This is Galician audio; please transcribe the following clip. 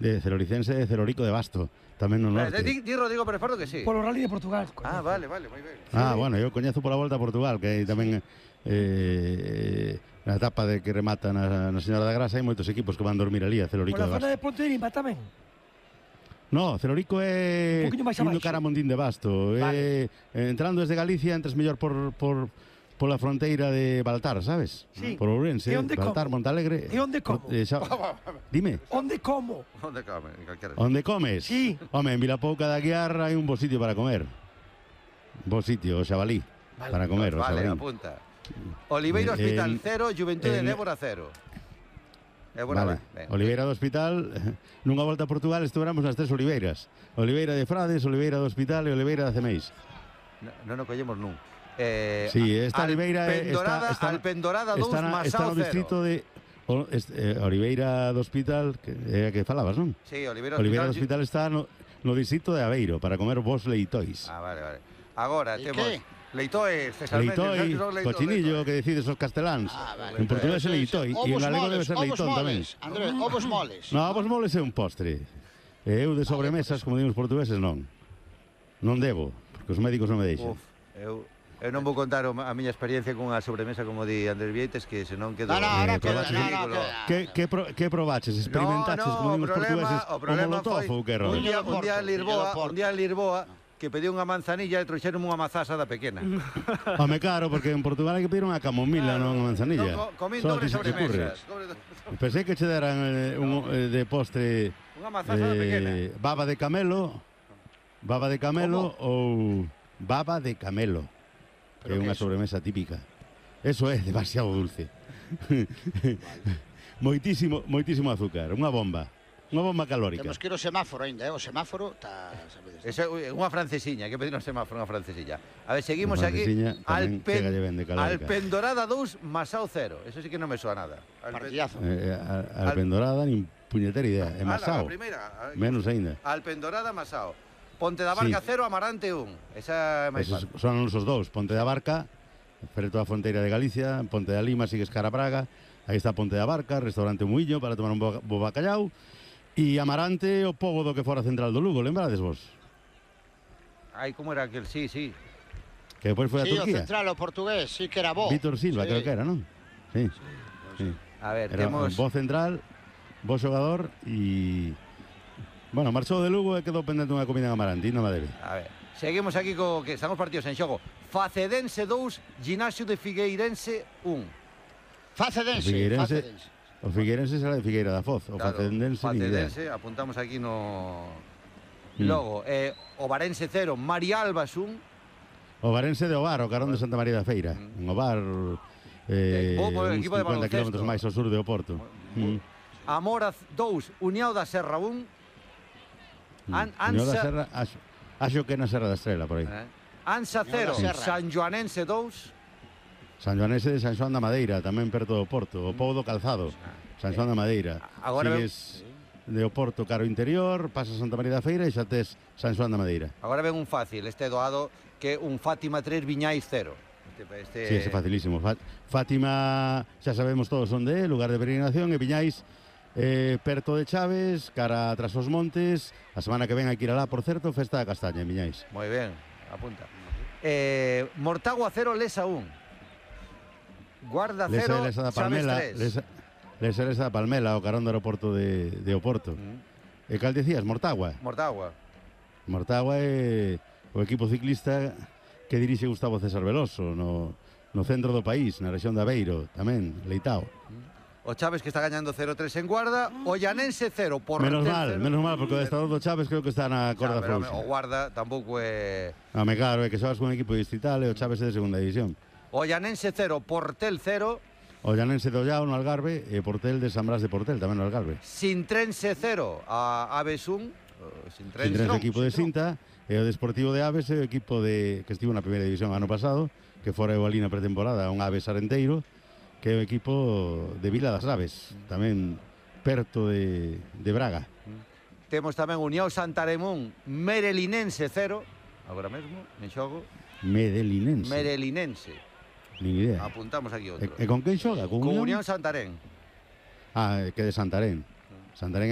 de Celoricense e Celorico de Basto, tamén no norte. Di Rodrigo Pérez Pardo que sí. Polo Rally de Portugal. Vale, moi ben. Bueno, eu coñezo pola Volta a Portugal, que hai tamén na etapa de que remata na Señora da Grasa, hai moitos equipos que van dormir ali a Celorico de Pola Basto. zona de Ponterimba tamén. No, Celorico é indo cara a Mondín de Basto. Vale. Entrando desde Galicia, entres mellor pola fronteira de Baltar, sabes? Sí. Por Ourense, Baltar, como? Montalegre. E onde como? Dime. Onde como? Onde comes? Sí. Home, en Vilapouca da Guiar hai un bo sitio para comer. Bo sitio, o xabalí. Para comer, o xabalí. Vale, apunta. Oliveira Hospital 0, Juventude de Évora 0. Vale. Oliveira do Hospital, nunha volta a Portugal estuvéramos nas tres Oliveiras. Oliveira de Frades, Oliveira do Hospital e Oliveira de Acemeis. Non o collemos nun. Sí, esta Oliveira Alpendorada 2, Masao 0. Está no distrito de Oliveira do Hospital, que é a que falabas, non? Sí, Oliveira do Hospital está no distrito de Aveiro para comer vos leitois. Vale. Agora temos leitois, Leitoi, cochinillo, que decides os casteláns. Vale. En portugués é leitoi e en galego debe ser leitón tamén. Andrés, ovos moles. No, ovos moles é un postre. E eu de sobremesas, como digo os portugueses, non. Non debo, porque os médicos non me deixan. Eu non vou contar a miña experiencia con a sobremesa como di Andrés Vieites, que senón quedo... Que probaches? Experimentaches, como digo os portugueses, o molotov ou que rollo? Un día en Lisboa, que pediu unha manzanilla e trouxeron unha mazasa da pequena. Home, claro, porque en Portugal hai que pedir unha camomila, non unha manzanilla. Comín dobre sobremesas. Pensei que che deran de postre unha mazasa da pequena. Baba de camelo ou baba de camelo, que é unha sobremesa típica. Eso é demasiado dulce. Moitísimo azúcar, unha bomba calórica. Temos que ir ao semáforo ainda, o semáforo está, sabedes. Esa é unha francesiña, que pedir un semáforo, unha francesiña. A ver, seguimos aquí. Alpendorada 2, Masao 0. Eso sí que non me soa nada. Partidazo. Alpendorada, nin puñetera idea. É Masao. Menos aínda. Alpendorada, Masao. Ponte da Barca 0, Amarante 1. Esa é máis fácil. Son os dous. Ponte da Barca, preto a fronteira de Galicia, Ponte da Lima, sigues cara a Praga. Aí está Ponte da Barca, restaurante Muiño para tomar un bo bacallau. E Amarante, o pobo do que fora central do Lugo, lembrades vos? Como era aquel? Sí. Que depois foi a Turquía. Sí, o central, o portugués, sí que era bo. Vítor Silva, creo que era, non? Sí. A ver, temos... Bo central, bo xogador e... Bueno, marchou de Lugo e quedou pendente unha comida en Amarante, non me debe. A ver, seguimos aquí co que están os partidos en xogo. Facedense 2, Ginásio de Figueirense 1. Facedense. O Figueirense será de Figueira da Foz. O Facedense, apuntamos aquí no... Logo, Ovarense 0, Marialbas 1. Ovarense de Ovar, o carón de Santa María da Feira. En Ovar, uns 50 km máis ao sur de Oporto. Amora 2, Uniao da Serra 1. Uniao da Serra, acho que na Serra da Estrela, por aí. Ansa 0, San Joanense 2. San Joanense de San Xoán da Madeira, tamén perto do Porto, o pobo do Calzado, San Xoán da Madeira. Sigues de Oporto caro interior, pasas Santa María da Feira e xa tes San Xoán da Madeira. Agora ven un fácil, doado, que un Fátima 3, Viñais 0. Sí, é facilísimo. Fátima, xa sabemos todos onde é, lugar de peregrinación, e Viñais perto de Chaves, cara tras os montes. A semana que ven hai que ir alá, por certo, festa da castaña en Viñais. Moi ben, apunta. Mortagua 0, Lesa 1. Guarda 0, Chaves 3. Lesa da Palmela, o carón do aeroporto de Oporto. E cal decías, Mortagua? Mortagua é o equipo ciclista que dirixe Gustavo César Veloso no centro do país, na rexión de Aveiro, tamén, Leitao. O Chaves que está gañando 0-3 en Guarda, o Llanense 0, Menos mal, porque o adestrador do Chaves creo que está na corda frouxa. O Guarda tampouco é... Claro, é que sabes con un equipo distrital e o Chaves é de segunda división. O Llanense 0, Portel 0. O Llanense do Ollao no Algarve e Portel de San Blas de Portel, tamén no Algarve. Sintrense 0, a Aves 1. Sintrense equipo de Sinta. E o Desportivo de Aves é o equipo que estivo na primeira división ano pasado, que fora o ali na pretemporada, un Aves Arenteiro, que é o equipo de Vila das Aves, tamén perto de Braga. Temos tamén Unión Santaremón, Merelinense 0, agora mesmo, en xogo. Merelinense. Nin idea. Apuntamos aquí outro. E con quen xoga? Con Unión Santarén. Que de Santarén. Santarén